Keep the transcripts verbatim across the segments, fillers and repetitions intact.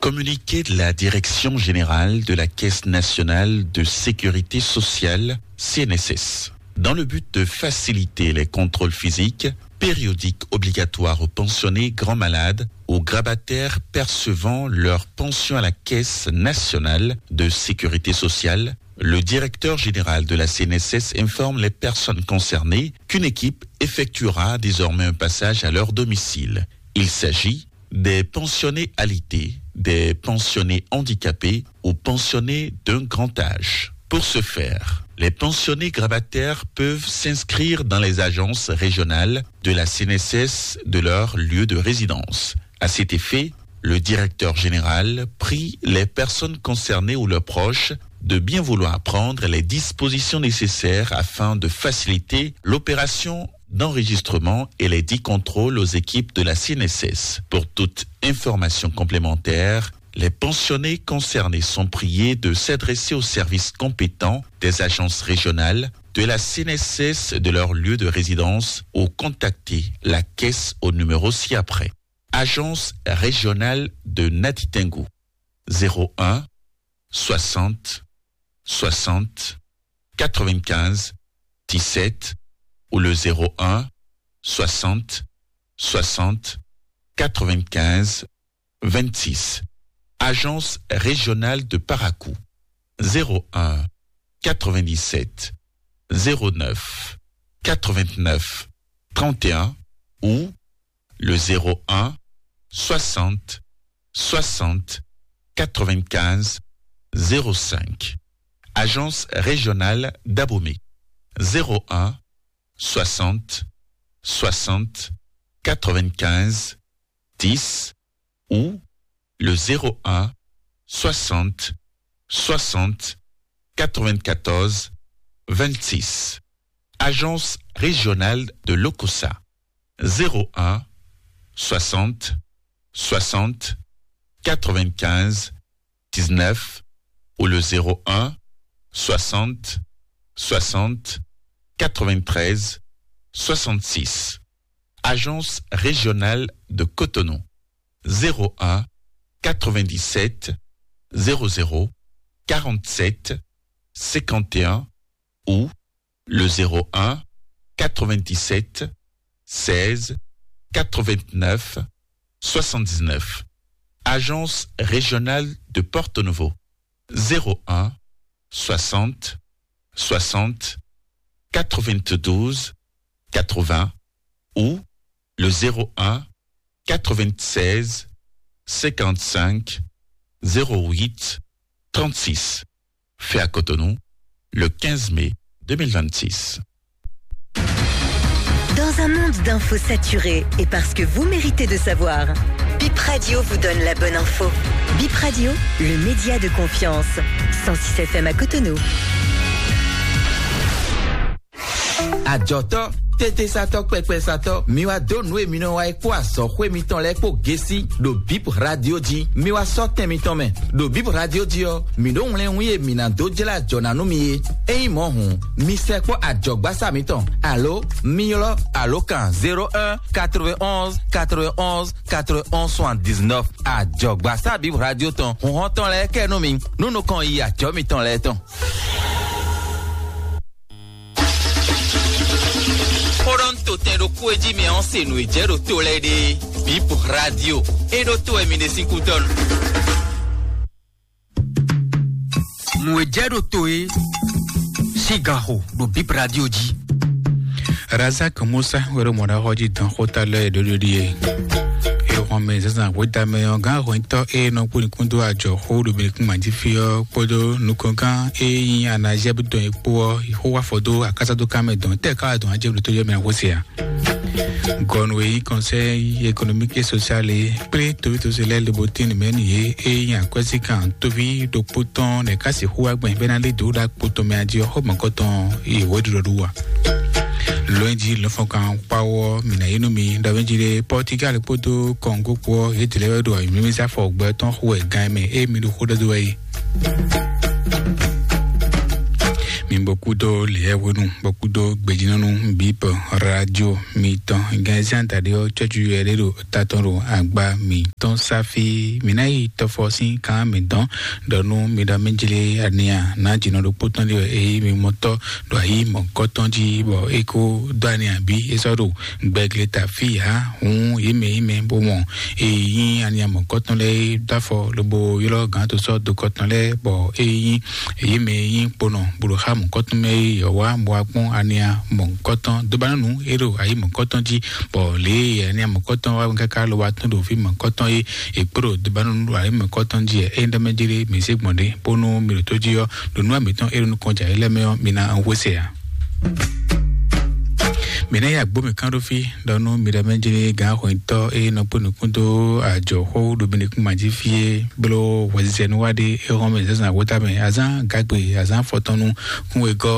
Communiqué de la Direction Générale de la Caisse Nationale de Sécurité Sociale, C N S S. Dans le but de faciliter les contrôles physiques, périodiques obligatoires aux pensionnés grands malades, aux grabataires percevant leur pension à la Caisse Nationale de Sécurité Sociale, le directeur général de la C N S S informe les personnes concernées qu'une équipe effectuera désormais un passage à leur domicile. Il s'agit des pensionnés alité, des pensionnés handicapés ou pensionnés d'un grand âge. Pour ce faire, les pensionnés grabataires peuvent s'inscrire dans les agences régionales de la C N S S de leur lieu de résidence. À cet effet, le directeur général prie les personnes concernées ou leurs proches de bien vouloir prendre les dispositions nécessaires afin de faciliter l'opération d'enregistrement et les dix contrôles aux équipes de la C N S S. Pour toute information complémentaire, les pensionnés concernés sont priés de s'adresser aux services compétents des agences régionales de la C N S S de leur lieu de résidence ou contacter la caisse au numéro ci-après. Agence régionale de Natitingou, zéro un, soixante, soixante, quatre-vingt-quinze, dix-sept ou le zéro un, soixante, soixante, quatre-vingt-quinze, vingt-six. Agence régionale de Parakou, zéro un, quatre-vingt-dix-sept, zéro neuf, quatre-vingt-neuf, trente et un ou le zéro un, soixante, soixante, quatre-vingt-quinze, zéro cinq. Agence régionale d'Abomey, zéro un, soixante, soixante, quatre-vingt-quinze, dix ou le zéro un, soixante, soixante, quatre-vingt-quatorze, vingt-six. Agence régionale de l'Okosa, zéro un, soixante, soixante, quatre-vingt-quinze, dix-neuf ou le zéro un, soixante, soixante, quatre-vingt-treize, soixante-six. Agence régionale de Cotonou, zéro un, quatre-vingt-dix-sept, zéro zéro, quarante-sept, cinquante et un ou le zéro un, quatre-vingt-dix-sept, seize, quatre-vingt-neuf, soixante-dix-neuf. Agence régionale de Porto Novo, zéro un, soixante, soixante, quatre-vingt-douze, quatre-vingts ou le zéro un, quatre-vingt-seize, cinquante-cinq, zéro huit, trente-six. Fait à Cotonou, le quinze mai deux mille vingt-six. Dans un monde d'infos saturées et parce que vous méritez de savoir, Bip Radio vous donne la bonne info. Bip Radio, le média de confiance. Cent six F M à Cotonou. Ajɔtɔ, tetesatɔ, kpɛkpɛsatɔ, mi wá dó nǔ e mi nɔ wa é kpó azɔxwé mitɔn lɛ́ɛ kpó gesi ɖo Bip Radio jí. Mi wá sɔ́ tɛn mitɔn mɛ. Ɖo Bip Radio jí ɔ́, mǐ ɖo wlɛ́nwún e mǐ ná dó jlá ajɔ ná nú mi é. Ényí mɔ̌ hǔn, mi sɛkpɔ́ ajɔ̌gbasá mitɔn, alo mi ylɔ́ alǒkan zéro un, quatre-vingt-onze, quatre-vingt-onze, quatre-vingt-onze, soixante-dix-neuf. Ajɔ̌gbasá Bip Radio tɔn, hǔnhɔ́n tɔn lɛ́ɛ kɛ nú mi, nú nukɔn yi ajɔ̌ mitɔn lɛ́ɛ tɔn. Xó ɖɔ un to tɛn ɖokpó e jí mi ɔ́ se nǔ e jɛ ɖo to lɛ́ɛ ɖe. Bip Radio, é ɖó to wɛ mi ɖe sín kúdɔ́ nu. Nǔ e jɛ ɖo to e sín ganxo ɖo Bip Radio jí. Razak Musa wɛ ɖo mɔ̌ɖaxɔ jí dɔn xóta lɛ́ɛ ɖo ɖiɖi e. Ehɔn mɛ zazan hweta mɛ ɔ́, gán hwɛntɔ́ e nɔ kpó nukún dó ajɔ xó ɖo mɛ kún mají fí ɔ́ kpódó nukɔngán e nyí anazɛ́ dɔn e kpó ɔ́, xó wá fɔ dó akásá dó ká mɛ dɔn tɛ́ ká wá dɔn ajɛ́ ɖo tó yɛ mɛ xó se ǎ. Gɔnu e nyí Conseil économique et social e kplé toví tosó lɛ́ɛ lobo tín nǔ mɛ nú yě e nyí akwɛ́síkan toví ɖokpó tɔn lɛ́ɛ ká sixú wá gbɛn bɛ́ ná lé dǒ ɖo akpo tɔn mɛ adi ɔ́ xó mɔ̌kɔ tɔn e wǒ ɖiɖɔ ɖó wa. Lɔ̌nyijǐ lɔ̌nfɔ́nkan kpáwɔ mǐ ná yí nú mi ɖɔ mǐ jí ɖe Pɔ́tigál kpódó Kɔngó kpó ɔ́, yě dlɛ́ wɛ ɖo awǐmímísá fɔ gbɛ tɔn xo wɛ gan e mɛ e mi ɖo xó ɖɔ dó wɛ é. Mi bɔ kúdó lěyɛ́hwenu, bɔ kúdó gbejínɔ́nú bíbɔ radio mitɔn. Gɛnzɛ́n daɖé ɔ́, cɔ́jú yɛ ɖé ɖo tatɔn ɖo agba mitɔn sáfí. Mǐ ná yi tɔfɔ sín kan mǐtɔn ɖɔ nú mi ɖɔ mí jlé ania nǎ jǐnɔ ɖokpó tɔn ɖé wɛ, eye mi mɔ tɔ́ ɖo ayǐ mɔ̌kɔtɔn jí, bɔ é kó dó ania bí é sɔ́ ɖo gbɛgleta fí ǎ. Hǔn yě mɛ yě mɛ bó mɔ e nyí aniamɔ̌kɔtɔn lɛ́ɛ é dó afɔ lobo ylɔ́ gǎn to sɔ́ dokɔtɔn lɛ́ɛ, bɔ é nyí yě mɛ e nyí kponɔ bó ɖo xá mɔ̌kɔtɔn mɛ é yɔ̌ wá bó wá kpɔ́n aniamɔ̌kɔtɔn dóbánúnu é ɖo ayǐ mɔ̌kɔtɔn jí, bɔ lě e aniamɔ̌kɔtɔn wá káká lo wá tɔ́n ɖo fí mɔ̌kɔtɔn é, è kpó ɖo dóbánúnu ɖo ayǐ mɔ̌kɔtɔn jí ɛ. É nyí ɖɔ mɛ jí ɖé mǐ zé gbɔn ɖě bónú mi ɖo tó jí ɔ́, ɖo nú mǐtɔn é ɖo nukɔn jǎ é lɛ́ɛ mɛ ɔ́, mi ná hwesɛ ǎ. Mǐ ná yi agbó mǐ kán ɖó fí ɖɔ nú mi ɖɔ mɛ jlé gǎn hwɛntɔ́ e nɔ kpó nukún dó ajɔ̌xó ɖo mi nukún ma jí fí é bló hwɛzizɛnu wá ɖé é hɔn mɛ zǎnzǎn wóta mɛ azán gǎgbe azán fɔtɔnnu kún wegɔ́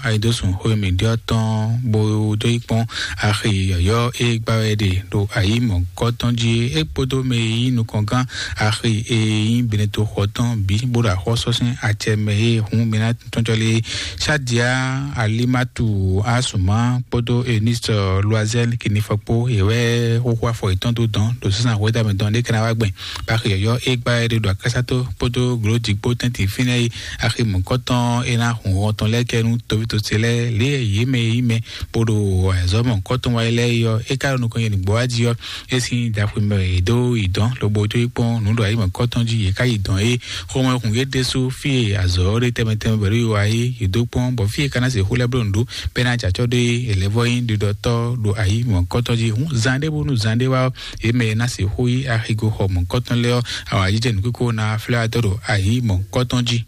ayidósùn xó e mǐ ɖyɔ́ tɔn bó dó yi kpɔ́n axi yɔ̌yɔ́ e gbá wɛ ɖe ɖo ayǐ mɔ̌kɔtɔn jí é kpódó mɛ e yí nukɔn gán axi e nyí Benetoxɔ tɔn bǐ bó ɖo axɔ́sɔ́sɛ́n acɛ mɛ é hǔn mi ná tɔ́njɔ́ lé Shadia Alimatu Asuma kpódó Eunice Loisel Kinifɔ kpó yě wɛ xóxó afɔ yětɔn dó dɔn ɖo sísan hwédamɛ dɔn ɖé kɛnɛ wá gbɛn. Baxi yɔyɔ é gbá ɛ ɖe ɖo akásátó kpódó glǒdzi kpó tɛ́ntin fínɛ́ yi axi mɔ̌kɔtɔn é ná hun hɔn tɔn lɛ́ɛ kɛ nú tovítɔ́ ce lɛ́ɛ lě e yě mɛ e nyí mɛ bó ɖo azɔ̌ mɔ̌kɔtɔn wa lɛ́ɛ yi ɔ́, é ka ɖo nukɔn nyi nǔgbó wá jí ɔ́, é sín ɖaxwimɛ è dó yi dɔn lobo jó yi kpɔ́n nǔ ɖo ayǐ mɔ̌kɔtɔn jí yě ká yi dɔn é. Xomɛ hun yě ɖésú fí e azɔ̌ ɖé tɛnmɛ tɛnmɛ bɛ̌ ɖo yi wá é, yě dó kpɔ́n bɔ fí e ka ná se xó lɛ́ɛ bló nǔ ɖó bɛ́ ná jɛ acɔ́ ɖó é, è lɛ́ vɔ́ nyí ɖiɖɔtɔ́ ɖo ayǐ mɔ̌kɔtɔn jí. Hǔn zan ɖé bónú zan ɖé wá ɔ́, yě mɛ e ná se xó yí axigo xɔ mɔ̌kɔtɔn lɛ́ɛ ɔ́, awǎjijɛ nǔkíkó ná flɛ́ wá dó ɖo ayǐ mɔ̌kɔtɔn jí.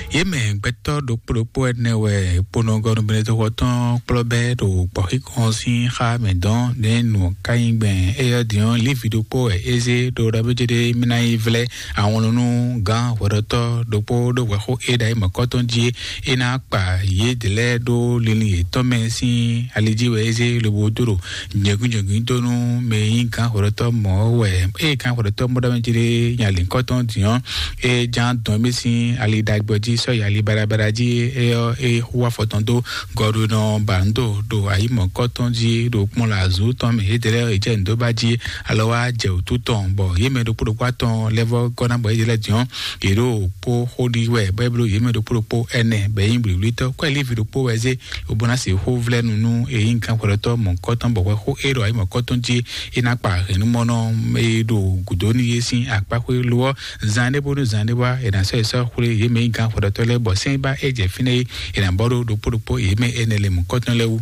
Yě mɛ gbɛtɔ́ ɖokpó ɖokpó ɛnɛ wɛ kponɔgɔnu Benedikto tɔn kplɔ́ bɛ́ ɖo gbɔ̌xíkɔn sín xá mɛ dɔn nɛ́ nǔ ɔ́ ka nyí gbɛn. Éyɔ́ din ɔ́, Lévi ɖokpó wɛ é zé ɖó ɖɔ bó jɛ ɖé mí ná yi vlɛ́ awɔnlɔn nú gǎn hwɛɖɔtɔ́ ɖokpó ɖó hwɛxó é ɖo ayǐ mɔ̌kɔtɔn jí é ná kpa yědɛɛ lɛ́ɛ ɖó linlin yětɔn mɛ sín ali jí wɛ é zé lobo dó ɖo nyɛ̌gúnyɛ̌gún dó nú mɛ e nyí gǎn hwɛɖɔtɔ́ mɔ̌ wɛ. Ée gǎn hwɛɖɔtɔ́ mɔ ɖɔ mɛ jí ɖé nya lǐnkɔ́tɔn din ɔ́, é ján dɔn mì sín ali ɖagbe jí sɔ́ yi ali baɖabaɖa jí. É ɔ́, é xú afɔ tɔn dó gɔɖunɔ ba nǔ do ɖo ayǐ mɔ̌kɔtɔn jí ɖo kpɔ́n lɛ azǔ tɔn mɛ yědɛɛ lɛ́ɛ é jɛ nǔ dó ba jí alɔ wá jɛ wǔtu tɔn, bɔ yě mɛ ɖokpó ɖokpó atɔn lɛ́ vɔ́ gɔ́ ná bɔ yědɛɛ lɛ́ɛ din ɔ́, yě ɖo kpó xó ɖi wɛ bɔ é bló yě mɛ ɖokpó ɖokpó ɛnɛ bɔ é nyí blǐblítɔ́ kɔ Lévi ɖokpó wɛ zé lobo ná se xó vlɛ́ nu nú e nyí gǎn hwɛɖɔtɔ́ mɔ̌kɔtɔn bɔ hwɛ xó é ɖo ayǐ mɔ̌kɔtɔn jí é ná kpa hɛ̌nnumɔnɔ e ɖo gǔdo nú yé sín akpá xwé lo ɔ́, zan ɖé bónú zan ɖé wá è nǎ sɔ́ yi sɔ́ xwlé yě mɛ e nyí gǎn hwɛɖɔtɔ́ lɛ́ɛ bɔ sɛ́n ba é jɛ fínɛ́ é è nǎ bɔ ɖó ɖokpó ɖokpó yě mɛ énɛ́ lɛ́ɛ mɔ̌kɔtɔn lɛ́ɛ wú.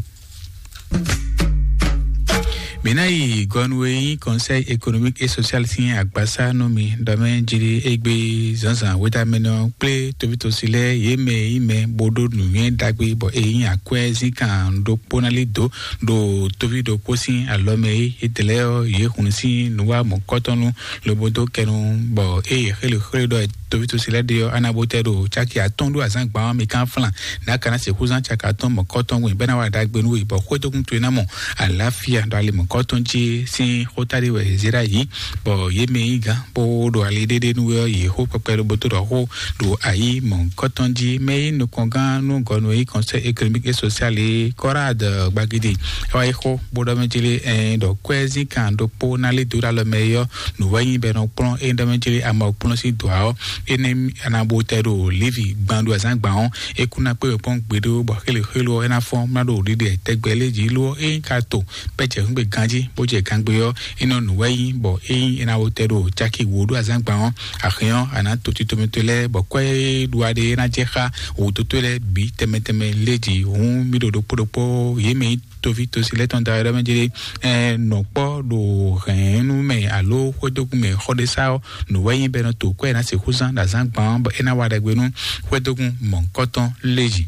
Mǐ ná yi gɔnu e nyí Conseil économique et social sín agbasá nú mi ɖɔ mɛ jí égbé zǎnzǎn wétamɛnɔ kplé tovítɔ́sí lɛ́ɛ yě mɛ e nyí mɛ bó ɖó nǔnywɛ́ ɖagbe bɔ e nyí akwɛ́ zínkan ɖokpó ná lí dǒ ɖo toví ɖokpó sín alɔ mɛ é. Étɛlɛ́ ɔ́, yě hun sín nǔwá mɔ̌kɔtɔn nú lobo dó kɛnu bɔ ée yě xélé xwlé ɖɔ tovítɔ́sí lɛ́ɛ ɖe ɔ́, á ná bó tɛ ɖo cáki atɔ́ɔ́n ɖó azǎn gban ɔ́ mi kán flán. Nǎ ka ná sixú zán caki atɔ́ɔ́n mɔ̌kɔtɔn wɛ bɛ́ ná wa ɖagbe nú we bɔ xwédógún towe ná mɔ àlàáfíà ɖo ali mɔ̌kɔtɔn jí sín xó táɖé wɛ zé ɖ'ayǐ, bɔ yě mɛ yí gán bó ɖo ali ɖéɖé nú we ɔ́, yě xó kpɛkpɛ ɖo bótó ɖɔ xó ɖo ayǐ mɔ̌kɔtɔn jí. Mɛ yí nukɔngán nú gɔnu e nyí Conseil économique et social é, Kɔ́rád Gbagidi, é wá yi xó bó ɖɔ mɛ jí lé ɛn ɖɔ kwɛ́ zínkan ɖokpó ná lé dó ɖo alɔ mɛ é ɔ́, nǔ wɛ nyí bɔ è nɔ kplɔ́n é ɖɔ mɛ jí lé ama kplɔ́n sín dɔ̌ ɔ́, énɛ́ a nǎ bo tɛ ɖo Lévi gban ɖo azǎn gban ɔ́, é kún ná kpé wɛ kpɔ́n gbeɖé ó, bɔ xéle xélo ɔ́, é ná fɔ́n ná ɖo ɖiɖe tɛgbɛ lé jí ló ɔ́, é nyí ka to bɔ é jɛ hǔngbe ganjí bó jɛ gangbé ɔ́, é nɔ nǔ wɛ nyí, bɔ ényí é ná wo tɛ ɖo caki wǒ ɖo azǎn gban ɔ́, axin ɔ́, a nǎ to tito mitɔn lɛ́ɛ, bɔ kwɛ́ e ɖu aɖe é ná jɛ xá wǒdotó lɛ́ɛ bǐ tɛnmɛ tɛnmɛ lé jí. Hǔn mì ɖo ɖokpó ɖokpó yě mɛ nyí toví tosi lɛ́ɛ tɔn da wɛ ɖɔ mɛ jɛ ɛ nɔkpɔ ɖo hɛ̌nnu mɛ alo xwédógún mɛ xɔ ɖé sá ɔ́, nǔ wɛ nyí bɔ é nɔ to kwɛ́ ná sixú zán ɖo azǎn gban ɔ́, bɔ é ná wa ɖagbe nú xwédógún mɔ̌hunkɔtɔn lé jí.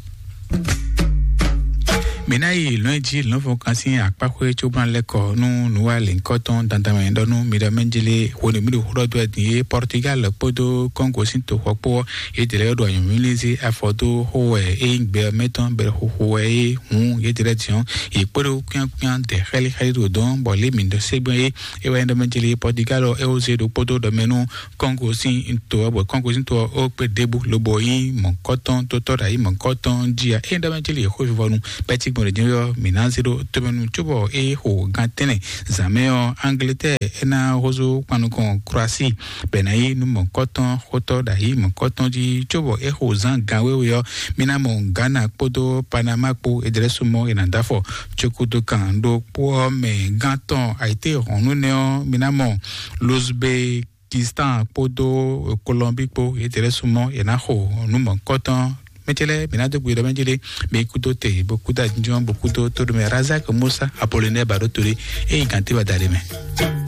Mǐ ná yi lɔ̌nyijǐ lɔ̌nfɔ́n kan sín akpáxwé cóbán lɛ́ kɔ nú nǔwalěnkɔ́tɔn dandan mɛ ɖɔ nú mi ɖɔ mɛjlé hwenu mǐ ɖo xó ɖɔ dó wɛ din é Portugal kpódó Congo sín toxɔ kpó ɔ́, yě dě lɛ́ɛ ɖo anyǔmlízí afɔ dó xó wɛ é nyí gbɛ mɛtɔn bɛ xoxo wɛ é hǔn yě dě lɛ́ɛ din ɔ́, yě kpódó kwíánkwíán dɛ xɛ́líxɛ́lí ɖo dɔn bɔ lě mǐ ɖɔ ségbɛ́n é é wɛ nyí ɖɔ mɛjlé Portugal ɔ́ é wó zé ɖokpódó ɖɔ mɛ nú Kɔngo sín to ɔ́, bɔ Kɔngo sín to ɔ́, ó kpé ɖěbǔ lobo nyí mɔ̌kɔtɔn, tótɔ́ ɖo ayǐ mɔ̌kɔtɔn jí a. Ényí ɖɔ mɛ jí lě xó vivɔnu bɛ́ cí gbɔn ɖě jɛ́n ɔ́, mǐ ná zé ɖó tómɛnu cóbɔ é xo gan tɛ́nnɛ zǎn mɛ ɔ́, Angleterre é ná húzú kpan nukɔn Croatie, bɔ è nǎ yí nú mɔ̌kɔtɔn xótɔ́ ɖo ayǐ mɔ̌kɔtɔn jí cóbɔ é xo zǎn gan wéwe ɔ́, mí ná mɔ Ghana kpódó Panama kpó é dlɛ́ súnmọ́ è nǎ dó afɔ cókúdó kan ɖokpó ɔ́ mɛ gán tɔn ayǐtéhɔ̌nnu nɛ́ ɔ́, mí ná mɔ Luzbe Pakistan kpódó Colombie kpó, yě tɛ́ lɛ́ súnmọ́ yě ná xo nǔ mɔ̌hunkɔtɔn. Mɛtɛ́ lɛ́ɛ mǐ ná dó gbe ɖɔ mɛ jí lé, mi kúdó te bó kúdó ajínjɔ́n bó kúdó tóɖomɛ Razak Musa Apollinaire Baɖótolé, ényí gǎn téwa da ɖé mɛ.